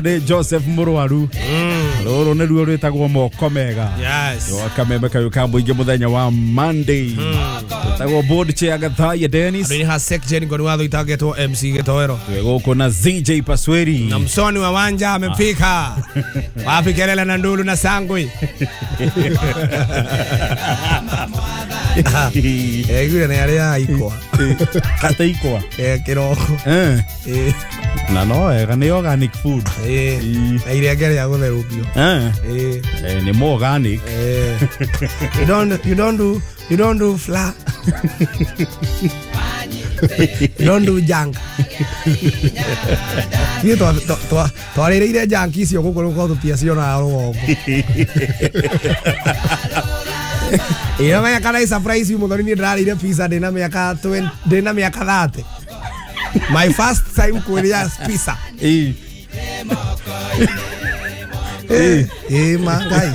Nĩ Joseph Mũrwaru. Rũrũ nĩruo rwĩtagwo moko mega. Yes. Kameme kayũ ka mũingĩ mũthenya wa Monday. Wĩtagwo board chair Gathaiya Dennis. Andũ ha Sek Jane ngoni watho itangetwo MC Gitoero. Twĩ gũkũ na ZJ Pasweri. Na msoni wa wanja amefika. Wapi kelele na ndulu na sangwe. Gure nĩ arĩa aikwa. Kate ikwa. Kĩroko. Eh. Na no wega nĩ organic food. Na irenge rĩa gũtherũkio. Nĩ more organic. You don't do flour. You don't do junk. Ithuĩ twarĩrĩire junk icio gũkũ rũkorwo tũtiacionaga rũgongo. Ĩyo menya kana surprise mũthoni niĩ ndĩrarĩire pizza ndĩna mĩaka 20 ndĩna mĩaka 30. My first time kũrĩa pizza. Ma Ngai.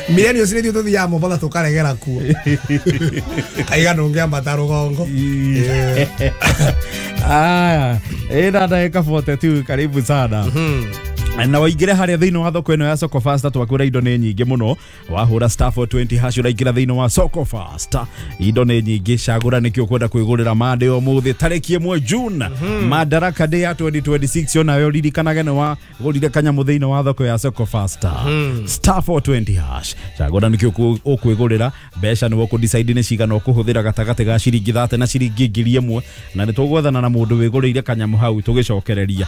Millennials nĩ ithuĩ tũthiaga Mombatha tũkaregera kuo. Kaiga ndũngĩambata rũgongo. Aya, ĩna ndagĩka 42 karibu sana. Na waingĩre harĩa thĩinĩ wa thoko ĩno ya Soko Fasta twakwĩra indo nĩ nyingĩ mũno. Wahũra star 420 hash ũraingĩra thĩinĩ wa Soko Fasta. Indo nĩ nyingĩ, cagũra nĩkĩ ũkwenda kwĩgũrĩra Monday ũmũthĩ tarĩki 1 June. Madaraka Day ya 2026 onawe ũririkanage nĩ wagũrire kanyamũ thĩinĩ wa thoko ya Soko Fasta. Star 420 hash. Cagũra nĩkĩ ũkwĩgũrĩra, mbeca nĩwe ũkũ-decide nĩ cigana ũkũhũthĩra gatagatĩ ga ciringi 30 na ciringi 1000, na nĩ tũgwethana na mũndũ wĩgũrĩire kanyamũ hau tũgĩcokereria.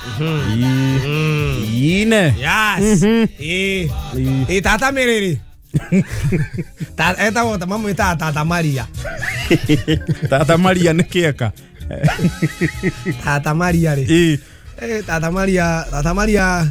Ine. Yes. Tata Miriri. Etagwo mamwĩtaga Tata Maria. Tata Maria nĩ kĩeka. Tata Maria rĩ. Tata Maria, Tata Maria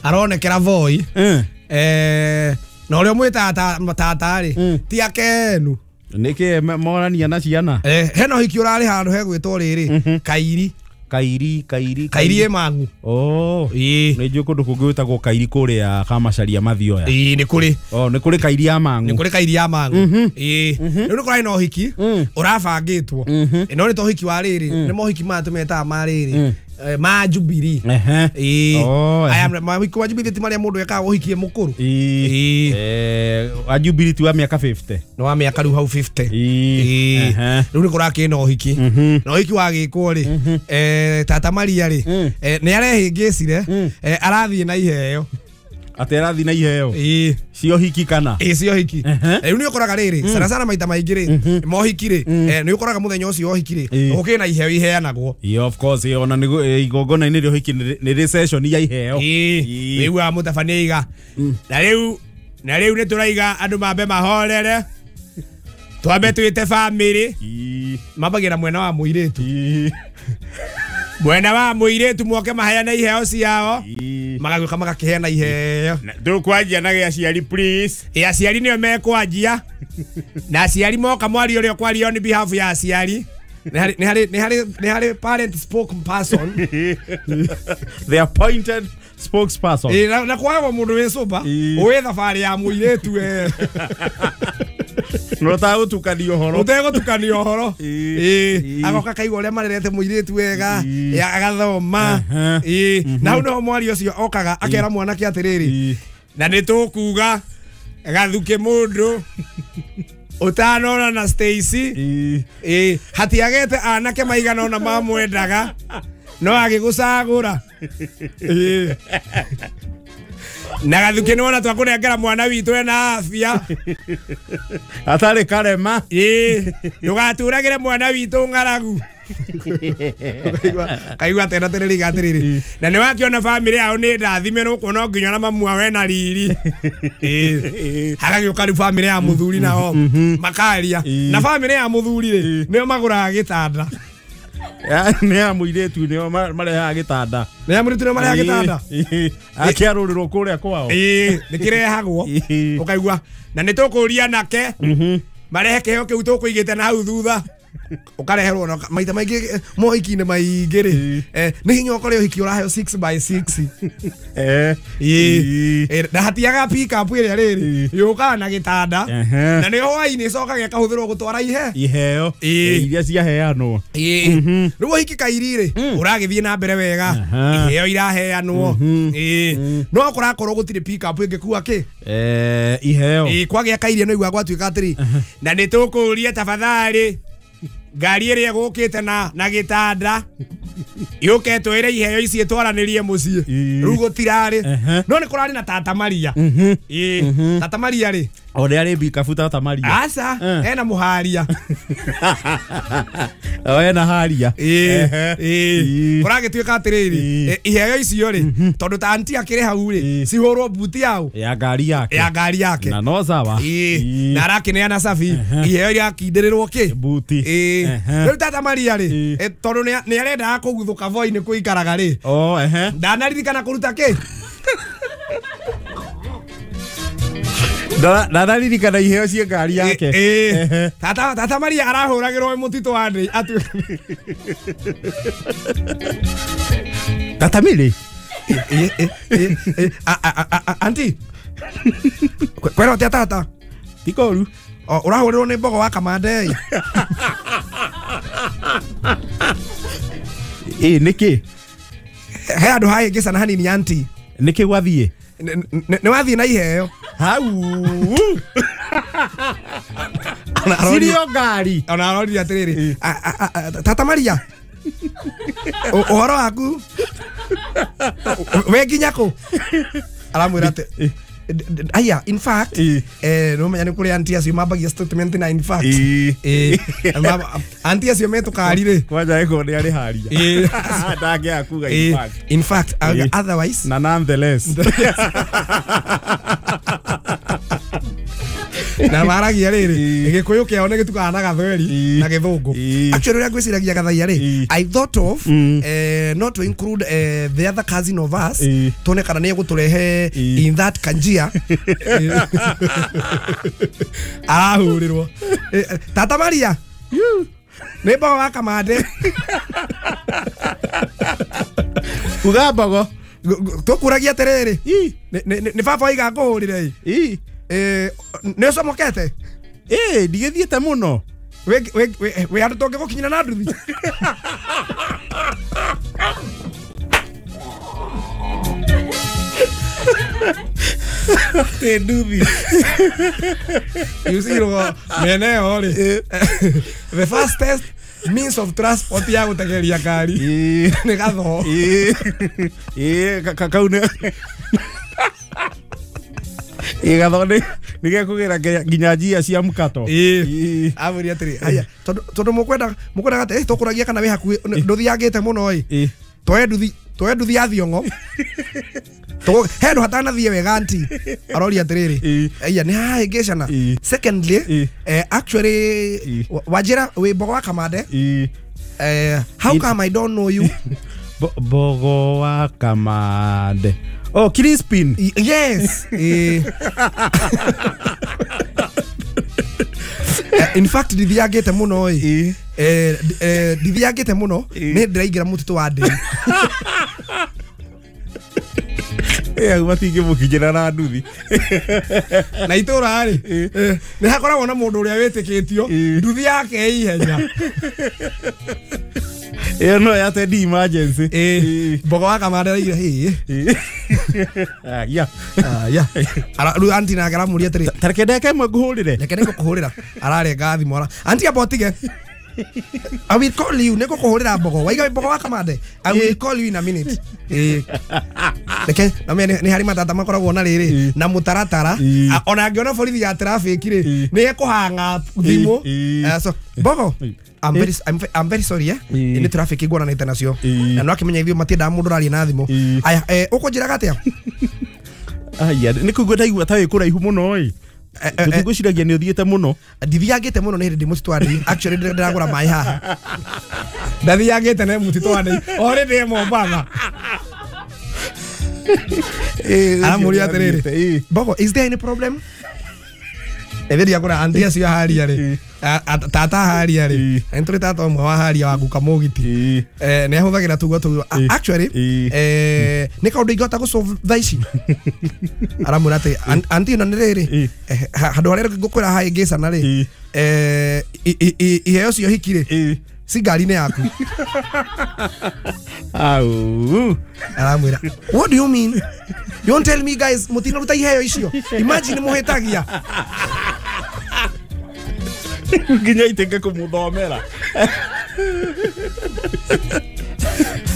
aronekera Voi. Na ũrĩa ũmwĩtaga tata rĩ, ti akenu. Nĩkĩ morania na ciana? Hena ũhiki ũrarĩ handũ hegwĩtwo rĩrĩ, Kairi. Kairi, Kairi, Kairi ĩ Mang'u. Oh. Nĩ njũĩ kũndũ kũngĩ gwĩtagwo Kairi kũrĩa Kamacaria Mathioya. Nĩ kũrĩ. Oh, nĩ kũrĩ Kairi ya Mang'u. Nĩ kũrĩ Kairi ya Mang'u. Rĩu nĩ kũrarĩ na ũhiki ũrabangĩtwo. No nĩ ta ũhiki wa rĩrĩ, nĩ mohiki maya tũmetaga ma rĩrĩ, ma Jubilee. Aya mohiki wa Jubilee ti marĩa mũndũ ekaga ũhiki e mũkũrũ. Wa Jubilee ti wa mĩaka 50. Nĩ wa mĩaka rĩu hau 50. Rĩu nĩ kũrakĩrĩ na ũhiki. Na ũhiki wagĩkwo rĩ, Tata Maria rĩ, nĩ arehĩngĩcire, arathiĩ na iheo. Atĩ arathiĩ na iheo? Cio hiki kana? Cio hiki. Rĩu nĩ ũkoraga rĩrĩ, sana sana maita maingĩ rĩ, mohiki rĩ, nĩ ũkoraga mũthenya ũcio wa ũhiki rĩ, gũkĩrĩ na iheo iheanagwo. Of course, ona nĩ igongona-inĩ rĩa ũhiki nĩ rĩ session ya iheo. Wĩiguaga mũtabania aiga. Na rĩu nĩ tũraiga andũ mambe mahorere. Twambe twĩte family. Mambagira mwena wa mũirĩtu. Mwena wa mũirĩtu moke maheane iheo ciao. Magagĩũka magakĩheana iheo. Tũkwanjia na gĩa aciari please. Aciari nĩo mekwanjia. Na aciari moka mwaria ũrĩa ũkwaria on behalf ya aciari. Nĩ harĩ parent spokesperson. The appointed spokesperson. Na kwagwo mũndũ wĩ sober, wĩ thabarĩ ya mũirĩtu we. No ũtagũtukania ũhoro. Ũtegũtukania ũhoro. Agoka kaigua ũrĩa marerete mũirĩtu wega, agathoma. Na hau nĩho mwaria ũcio okaga akera mwanake atĩrĩrĩ, na nĩ tũkuga gathuke mũndũ ũtanona na Stacy. Hatiagete anake maigana ona mamwendaga no agĩgũcagũra. Na gathuke nĩ wona twakũnengera mwana witũ ena afya. Atarĩ karema. Ndũgaturagĩre mwana witũ ng'aragu. Kaigua tena tĩrĩrĩ atĩrĩrĩ. Na nĩ wakĩona family yao nĩ ndathime nĩ no nginya na mamu wawe na riri. Hagagĩũka rĩu family ya mũthuri nao makaria. Na family ya mũthuri rĩ, nĩo magũraga gĩtanda. Nĩ ya mũirĩtu nĩo marehaga gĩtanda. Nĩ ya mũirĩtu nĩo marehaga gĩtanda. Akĩarũrĩrwo kũrĩa kwao. Nĩ kĩrehagwo. Ũkaigua. Na nĩ tũkũria anake marehe kĩheo kĩu tũkũigĩte na hau thutha. Ukareherwo na maita maingĩ mohiki-inĩ maingĩ rĩ, nĩ hinya ũkore ũhiki ũraheo 6x6. Na hatiaga pick up ĩrĩa rĩrĩ yũkaga na gĩtanda na nĩ hwaĩ-inĩ ĩcokaga ĩkahũthĩrwo gũtwara iheo iria ciaheanwo. Rĩu ũhiki kairi rĩ ũragĩthiĩ na mbere wega, iheo iraheanwo, no kũrakorwo gũtirĩ pick up ĩngĩkua kĩ iheo. Kwagĩa kairia no igua gwatuĩka atĩrĩ, na nĩ tũkũũria tafadhali ngari ĩrĩa ĩgũkĩte na gĩtanda yũke twĩre iheo ici ĩtwaranĩrie mũciĩ. Rĩu gũtirarĩ, no nĩ kũrarĩ na Tata Maria. Tata Maria rĩ o nĩ arĩ mbikabu Tata Maria? Aca, ena mũharia. O ena haria. Kũragĩtuĩka atĩrĩrĩ, iheo icio rĩ, tondũ ta anti akĩrĩ hau rĩ, cihũrwo buti yao ya ngari yake, ya ngari yake, na no sawa. Na arakĩneana cabi iheo irakindĩrĩrwo kĩ buti. Rĩu Tata Maria rĩ, tondũ nĩ arendaga kũguthũka voi-inĩ kũikaraga rĩ, ndanaririkana kũruta kĩ. Ndanaririkana iheo cia ngari yake. Tata Maria arahũragĩrwo mũtitũ wa ndĩ Tata Mary. Anti kwĩra ũtĩa tata? Ti koru. Ũrahũrĩrwo nĩ mbogo wa Kamande. Nĩkĩ? He handũ hahĩngĩcana hanini anti. Nĩkĩ gwathiĩ? Nĩ wathiĩ na iheo hau cirio ngari. Ona arorire atĩrĩrĩ, Tata Maria, ũhoro waku we nginya kũ? Aramwĩra atĩ aya, in fact, no menya nĩ kũrĩ anti acio mambagia statement na in fact. Anti acio metũkari rĩ, kwanja ĩko nĩ arĩ haria ndangĩaga kuga in fact. In fact, otherwise na nonetheless. Na maragia rĩrĩ, gĩkũyũ kĩao nĩ gĩtukanaga na gathweri na gĩthũngũ. Actually ũrĩa ngwĩciragia Gathaiya rĩ, I thought of not to include the other cousin of us, tuone kana nĩ egũtũrehe in that kanjia. Arahũrĩrwo Tata Maria nĩ mbogo wa Kamande. Uga mbogo tũkũragia atĩrĩrĩ, nĩ baba oiga ngũhũrĩre. Nĩ ũcomokete? Ndigĩthiĩte mũno. Wĩ handũ tũngĩgũkinyĩra na nduthi? Tĩ nduthi. You see, mĩena ĩyo rĩ, the fastest means of transport ya gũtegeria ngari nĩ gathoo. Kau nĩ gatho nĩ gekũgĩra nginya njia cia mũkato. Amwĩre atĩrĩ, aya, tondũ mũkwendaga atĩ tũkũragia kana wĩ hakuhĩ, ndũthiangĩte mũno ĩ, twoe nduthi ya Thiong'o. He handũ hatanathiĩ wega anti. Aroria atĩrĩrĩ, aya nĩ hahĩngĩcana. Secondly, actually wanjĩra wĩ mbogo wa Kamande. How come I don't know you? Mbogo wa Kamande. Oh, Crispin. Yes. In fact, ndithiangĩte mũno ĩ. Ndithiangĩte mũno, nĩ ndĩraingĩra mũtitũ wa ndĩ. Hau matingĩmũkinyĩra na nduthi. Na itũra rĩ, nĩ hakoragwo na mũndũ ũrĩa wĩtĩkĩtio nduthi yake ĩ ihenya. Ĩyo no ya tendi emergency. Mbogo wa Kamande araigire hĩ. Ya. Ya. Rĩu anti nake aramũria atĩrĩ, ta reke ndeke ĩmwe ngũhũrĩre. Reke nĩngũkũhũrĩra. Ararenga thimũ. Anti amba ũtige. I will call you. Nĩngũkũhũrĩra mbogo. Waiga mbogo wa Kamande. I will call you in a minute. Reke na nĩ harĩ matata makoragwo na rĩrĩ na mũtaratara. Ona angĩona borithi ya traffic rĩ, nĩ ekũhanga thimũ. So mbogo, I'm very sorry, Nĩ traffic nguonanĩte nacio. Na no akĩmenya ithuĩ matiendaga mũndũ ũraria na thimũ. Aya, ũkũnjĩraga atĩa? Aya, nĩ kũigua ndaigua ta wĩ kũraihu mũno ĩ. Tũtigwĩciragia nĩ ũthiĩte mũno. Ndithiangĩte mũno nĩ hĩndĩ ndĩ mũtitũ wa ndĩ. Actually ndĩragũra maĩ haha. Ndathiangĩte nĩ mũtitũ wa ndĩ. O rĩ ndĩ Mombatha. Aramũria atĩrĩrĩ, Mbogo, is there any problem? Etheria kura anti acio haria ri tata haria ri entry tata omwe wa haria wa guka mugiti ne ahuthagira tugo tugo actually ni kaundu ingihota gusolve thaa ici aramwira ati anti ino ni riri handu haria ngukwira hai ngicana ri iheo cio hiki ri si ngari-inĩ yaku. Au. Aramwira, what do you mean? You won't tell me guys mutinaruta iheo icio. Imagine muhitagia. Nginya itenge kumuthomera.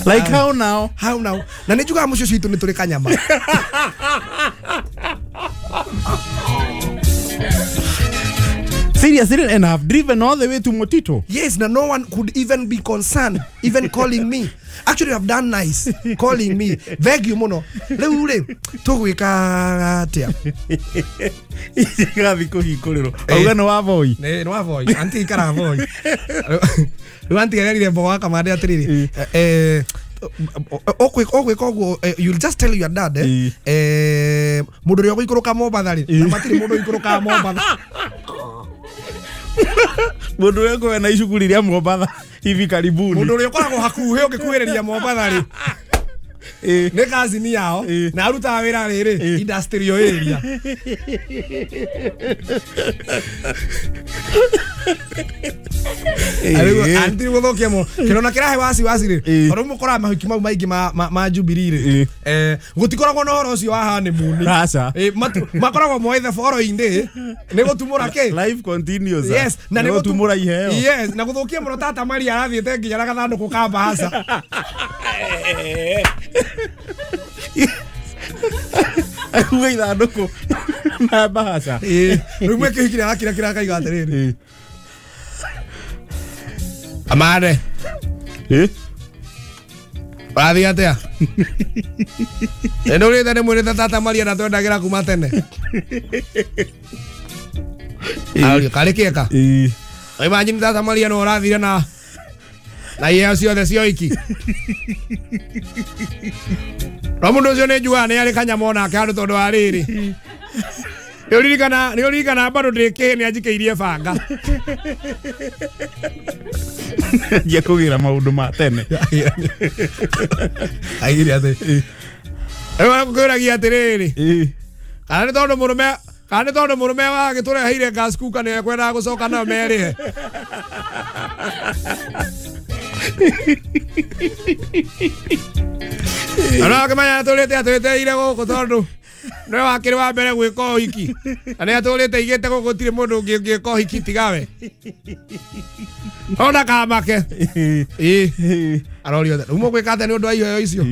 Like how now? How now? Na nĩ njugaga mũciĩ citũ nĩ tũrĩ kanyama. Seriously, and I've driven all the way to Motito. Yes, now no one could even be concerned, even calling me. Actually, I've done nice calling me. Beg you mono. Rĩu rĩ, tũgwĩka atĩa? Gathiĩ kũhingũrĩrwo. Auga nĩ wa Voi. Nĩ wa Voi. Anti ikaraga Voi. Rĩu anti erire mbogo wa Kamande atĩrĩrĩ, ũgwĩka ũguo, you'll just tell your dad, mũndũ ũrĩa ũgũikũrũka Mombatha rĩ, na matirĩ mũndũ ũikũrũkaga Mombatha. Mundu ũrĩa ũkoragwo na icukuri rĩa Mombatha hivi karibuni. Mundu ũrĩa ũkoragwo hakuhĩ ũngĩkuhĩrĩria Mombatha rĩ, nĩ kazini yao na arutaga wĩra rĩrĩ industrial area. Anti gũthũkia mũno kĩrona kĩrahe waci waci rĩ, tondũ mũkoraga mahiki mau maingĩ ma Jubilee rĩ, gũtikoragwo na ũhoro ũcio wa honeymoon. Aca. Makoragwo moe the following day nĩ gũtumũra kĩ? Life continues. Yes, na nĩ gũtumũra iheo. Yes, na gũthũkia mũno tata Maria arathiĩte nginya na gathandũkũ ka mbahaca. Akuga ithandũkũ na mbahaca. Rĩu mwĩkĩhikire arakira kĩrakaiga atĩrĩrĩ, Amare. Ũrathiĩ atĩa? Nĩ ndũrĩte nĩ mwĩrĩte tata Maria na twendagĩra kuma tene. Ario karĩ kĩeka. Imagine tata Maria no ũrathire na iheo ciothe cia ũhiki. No mũndũ ũcio nĩ njugaga nĩ arĩ kanyama onake handũ tondũ wa rĩrĩ. Nĩ ũririkana bado ndĩ kĩhĩ nĩ anjikĩirie banga. Ngia kũgĩra maũndũ ma tene. Aigire atĩ. Rĩu arakũragia atĩrĩrĩ. Kana nĩ tondũ mũrũme, kana nĩ tondũ mũrũme wagĩtũreheire gas cooker nĩ ekwendaga gũcoka nayo merĩhe. Ona akĩmenya atũrĩte atwĩteire gũkũ tondũ nĩwe wakĩrĩ wa mbere gwĩka ũhiki. Na nĩ atũrĩte aigĩte gũkũ gũtirĩ mũndũ ũngĩ ũngĩka ũhiki tigawe. Ona kamake. Arorio rĩu mũgwĩka atĩa nĩ ũndũ wa iheo icio?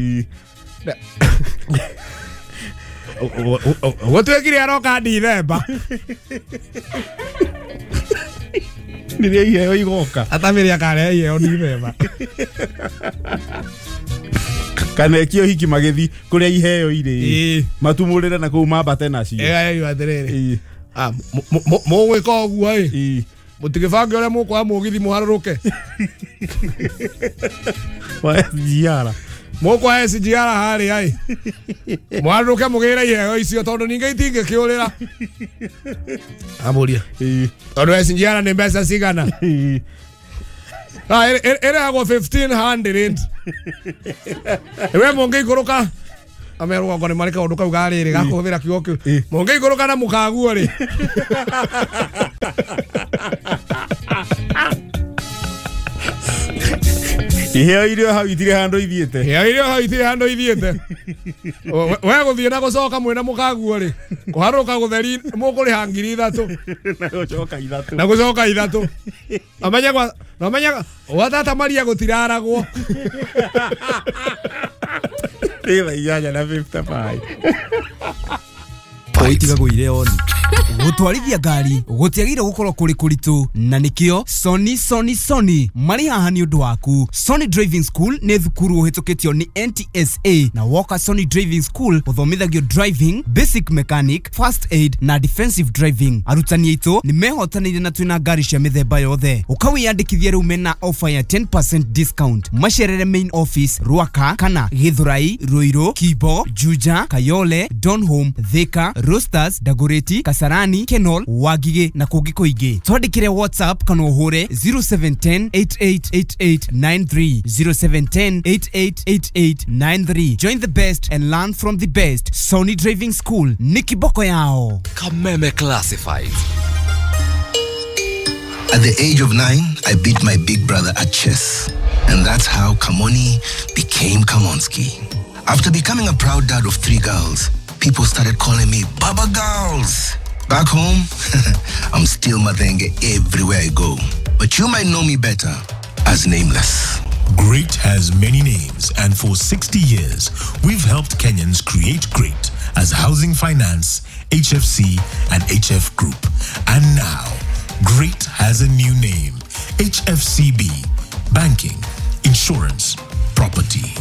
Gũtuĩkire aroka Dithemba. Rĩrĩa iheo igoka. Atamĩrĩ akarehe iheo Dithemba. Kana ekio hiki magĩthi kũrĩa iheo irĩ. Matumũrĩre na kũu mambate nacio. Ĩyo atĩrĩrĩ. Mũgwĩka ũguo ĩ. Mũtigĩbange ũrĩa mũkũoya mũgithi mũharũrũke. Wa SGR. Mũkũoya SGR harĩa ĩ. Mũharũrũke mũgĩre iheo icio tondũ ningĩ itingĩkĩũrĩra. Amũria. Tondũ SGR nĩ mbeca cigana? Ĩrehagwo 1500. We mũngĩikũrũka amerwo ngo nĩ marĩ kaũndũ kau ga rĩrĩ gakũhũthĩra kiugo kĩu. Mũngĩikũrũka na mũkaguo rĩ. Iheo irio hau itirĩ handũ ithiĩte. Iheo irio hau itirĩ handũ ithiĩte. We gũthiĩ na gũcoka mwĩna mũkaguo rĩ. Kũharũka gũtheri mũkũrĩha 3,000. Na gũcoka 3. Na gũcoka 3. Amenye kwa na menye gwa tata Maria gũtiraragwo. Thaa 8:55. Oitigagwo oni. Gũtwarithia ngari gũtiagĩrĩire gũkorwo kũrĩ kũritũ na nĩkĩo Sony Sony Sony marĩ haha nĩ ũndũ waku. Sony Driving School nĩ thukuru ũhĩtũkĩtio nĩ NTSA na woka Sony Driving School ũthomithagio driving, basic mechanic, first aid na defensive driving. Arutani aitũ nĩ mehotanĩire na twĩna ngari cia mĩthemba yothe. Ũkawĩyandĩkithia rĩu mena offer ya 10% discount. Macerere main office Ruaka kana Githurai, Ruiru, Kibo, Juja, Kayole, Donholm, Thika, Roasters, Dagoretti, Kasarani Kasarani, Kenol, Wangigĩ na kũngĩ kũingĩ. Twandĩkĩre WhatsApp kana ũhũre 0710 888893, 0710 888893. Join the best and learn from the best. Sony Driving School ni kiboko yao. Kameme Classifieds. At the age of 9, I beat my big brother at chess. And that's how Kamoni became Kamonski. After becoming a proud dad of 3 girls, people started calling me Baba Girls. Back home, I'm still Mathenge everywhere I go. But you might know me better as Nameless. Great has many names, and for 60 years, we've helped Kenyans create great as Housing Finance, HFC, and HF Group. And now, Great has a new name, HFCB, Banking, Insurance, Property.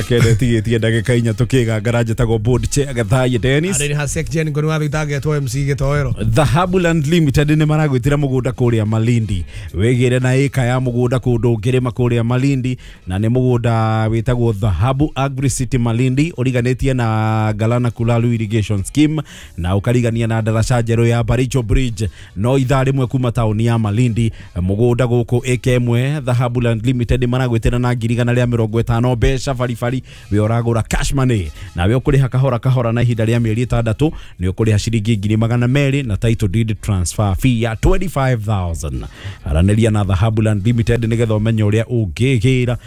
Kende tigĩtie ndagĩka inya tũkĩgangara njĩtagwo board chair Gathaye Dennis. Arĩ Hasek Jen ngoni wa thitangĩtwo MC Gĩtoero. Dhahabu Land Limited nĩ maragwĩtĩra mũgũnda kũrĩa Malindi. Wĩgĩre na ĩka ya mũgũnda kũndũ ũngĩrĩma kũrĩa Malindi, na nĩ mũgũnda wĩtagwo Dhahabu Agri City Malindi, ũriganĩtie na Galana Kulalu Irrigation Scheme na ũkarigania na ndaraca njerũ ya Baricho Bridge, no ithaa rĩmwe kuma taũni ya Malindi. Mũgũnda gũkũ ĩka ĩmwe Dhahabu Land Limited maragwĩtĩra na 150,000 mbeca baribari, we ũragũra cash money nawe ũkũrĩha kahora kahora na ihinda rĩa mĩeri 6 nĩ ũkũrĩha ciringi 200,000 na title deed transfer fee ya 25,000. Aranĩria na Dhahabu Land Limited nĩgetha ũmenye ũrĩa ũngĩgĩra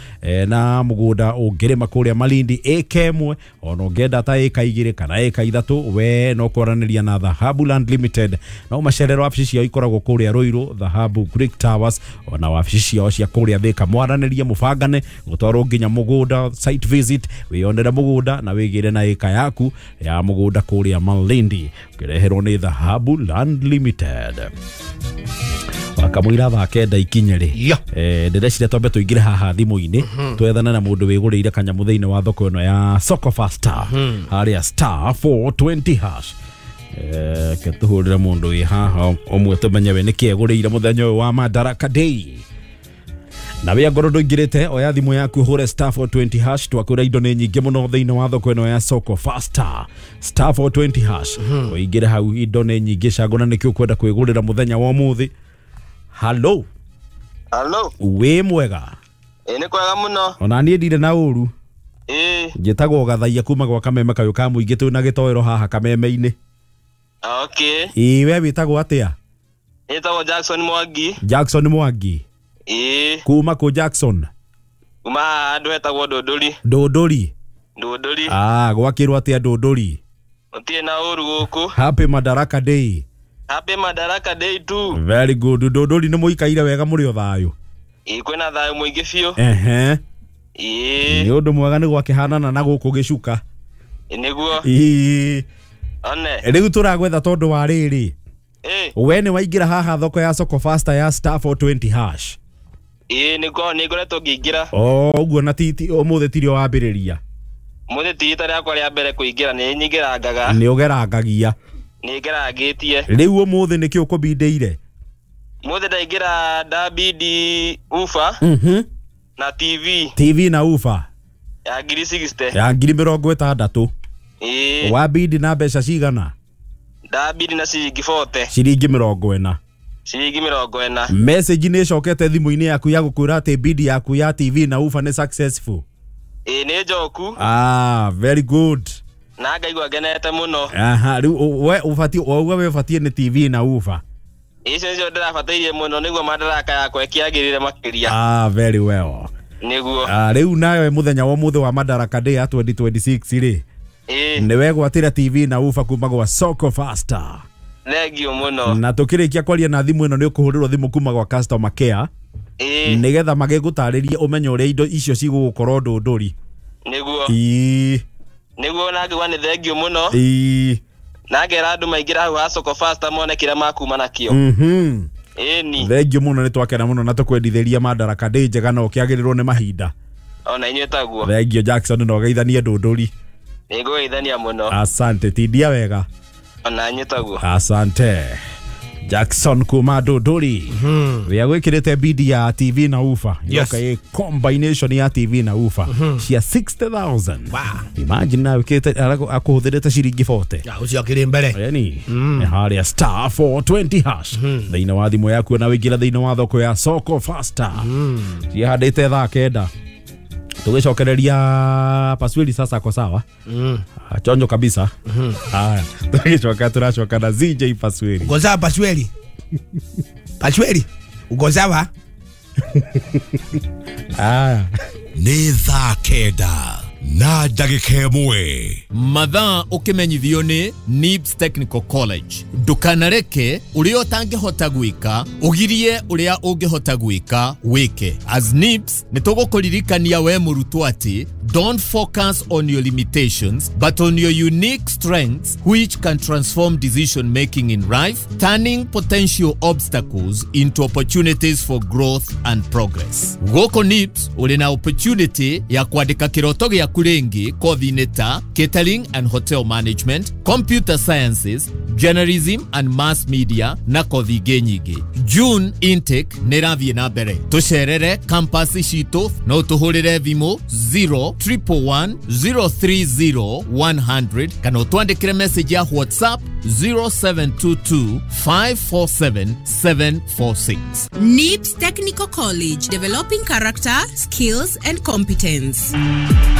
na mũgũnda ũngĩrĩma kũrĩa Malindi ĩka ĩmwe, ona ũngĩenda ta ĩka 2 kana ĩka 3, we no kwaranĩria na Dhahabu Land Limited. No macerero wabici ciao ikoragwo kũrĩa Ruiru, Dhahabu Greek Towers, ona wabici ciao cia kũrĩa Thika. Mwaranĩrie mũbangane gũtwarwo nginya mũgũnda site visit, wĩyonere mũgũnda na wĩgĩre na ĩka yaku ya mũgũnda kũrĩa Malindi, ũkĩreherwo nĩ Dhahabu Land Limited. Wakamũira thaa 9 ikinye rĩ, ndĩreciria twambe tũingĩre haha thimũ-inĩ twethane na mũndũ wĩgũrĩire kanyamũ thĩinĩ wa thoko ĩno ya Soko Fasta harĩa star 420 hash. Ke tũhũrĩre mũndũ wĩ haha ũmwe tũmenye we nĩkĩ egũrĩire mũthenya ũyũ wa Madaraka Day. Na wĩa ngoro ndũingĩrĩte, oya thimũ yaku ũhũre star 420 hash. Twakwĩra indo nĩ nyingĩ mũno thĩinĩ wa thoko ĩno ya Soko Fasta, star 420 hash. Ũingĩre hau, indo nĩ nyingĩ, cagũra nĩkĩ ũkwenda kwĩgũrĩra mũthenya wa ũmũthĩ. Hello. Hello. Wĩ mwega? Ĩ nĩ kwega mũno. Ona niĩ ndirĩ na ũru. Ĩ njĩtagwo Gathaia kuma gwa Kameme kayũ ka mũingĩ twĩ na Gĩtoero haha Kameme-inĩ. Okay. Ĩ we wĩtagwo atĩa? Nĩtagwo Jackson Mwangi. Jackson Mwangi. Ĩ kuma kũ Jackson? Kuma handũ hetagwo Ndũndũri. Ndũndũri. Ndũndũri. Ah, gwakĩrwo atĩa Ndũndũri? Gũtirĩ na ũru gũkũ. Happy Madaraka Day. Happy Madaraka Day too. Very good. Ndũndũri nĩ mũikaire wega mũrĩ o thayũ? Ĩ kwĩna thayũ mũingĩ biũ. Ehe. Ĩ nĩ ũndũ mwega nĩ gwakĩhanana na gũkũ gĩcuka. Nĩguo. Ĩ one rĩu tũragwetha tondũ wa rĩrĩ. Ĩ we nĩ waingĩra haha thoko ya Soko Fasta ya star 420 hash. Ĩ nĩguo nĩngoretwo ngĩingĩra. O ũguo na ti ũmũthĩ tirio wambĩrĩria? Mũthĩ ti rita rĩakwa rĩa mbere kũingĩra, nĩ nyingĩrangaga. Nĩ ũgerangagia? Nĩ ngerangĩtie. Rĩu ũmũthĩ nĩkĩ ũkũbindĩire? Mũthĩ ndaingĩra ndabindi ufa na TV. TV na ufa ya 60,000. Ya 60,000. Ĩ wabindi na mbeca cigana? Ndabindi na ciringi 40. Ciringi 40. Ciringi 40. Message nĩ ĩcokete thimũ-inĩ yaku ya gũkwĩra atĩ bid yaku ya TV na ufa nĩ successful. Ĩ nĩ njoku. Ah, very good. Na ngaigua ngenete mũno. Aha, rĩu we ũbatiĩ ũguo we ũbatiĩ nĩ TV na ufa. Icio nĩcio ndĩrabatairie mũno nĩguo madaraka yakwa ĩkĩagĩrĩre makĩria. Ah, very well. Nĩguo. Ah, rĩu nayo mũthenya wa ũmũthĩ wa Madaraka Day ya 2026 rĩ. Ĩ nĩ wegwatĩra TV na ufa kuma gwa Soko Fasta. Thengio mũno. Na tũkĩrĩkia kwaria na thimũ ĩno nĩ ũkũhũrĩrwo thimũ kuma gwa customer care. Ĩ nĩgetha magĩgũtarĩrie ũmenye ũrĩa indo icio cigũgũkorwo Ndũndũri. Nĩguo. Ĩ nĩguo na ngĩgua nĩ thengio mũno. Ĩ na ngera andũ maingĩra hau ha Soko Fasta mone kĩrĩa makuma nakĩo. Ĩni Thengio mũno, nĩ twakena mũno na tũkwendithĩria Madaraka Day njega na ũkĩagĩrĩrwo nĩ mahinda. Ona inyuĩ taguo. Thengio Jackson, na ũgeithanie Ndũndũri. Nĩngũgeithania mũno. Asante, tindia wega. Ona inyuĩ taguo. Asante. Jackson kuma Ndũndũri rĩa gwĩkĩrĩte bidi ya TV na ufa. Yes. Yoka ĩ combination ya TV na ufa cia 60,000. Wow. Imagine na wĩkĩrĩte akũhũthĩrĩte ciringi 40. Ya, ũcio akĩrĩ mbere. Yani harĩa star 420 hash thĩinĩ wa thimũ yaku na wĩingĩra thĩinĩ wa thoko ya soko faster cihandĩte thaa 9 tũgĩcokereria paswili sasa ko sawa. Ah, chonjo kabisa. Haya, tũgĩcoka tũracoka na ZJ Paswili. Uko sawa Pasweli? Pasweli, uko sawa? Haya. Nĩ thaa 9 na ndagĩka 1. Mathaa ũkĩmenyithio nĩ NIBS Technical College. Ndũkanareke ũrĩa ũtangĩhota gwĩka ũgirie ũrĩa ũngĩhota gwĩka wĩke. As NIBS nĩ tũgũkũririkania we mũrutwo atĩ don't focus on your limitations but on your unique strengths which can transform decision making in life, turning potential obstacles into opportunities for growth and progress. Gũkũ NIBS ũrĩ na opportunity ya kwandĩka kĩroto gĩaku rĩngĩ kothi-inĩ ta catering and hotel management, computer sciences, journalism and mass media na kothi ingĩ nyingĩ. June intake nĩ ĩrathiĩ na mbere. Tũcerere campus citũ no tũhũrĩre thimũ 0 111 030 100 kana ũtwandĩkĩre message ya WhatsApp 0722 547 746. NIBS Technical College, developing character, skills, and competence.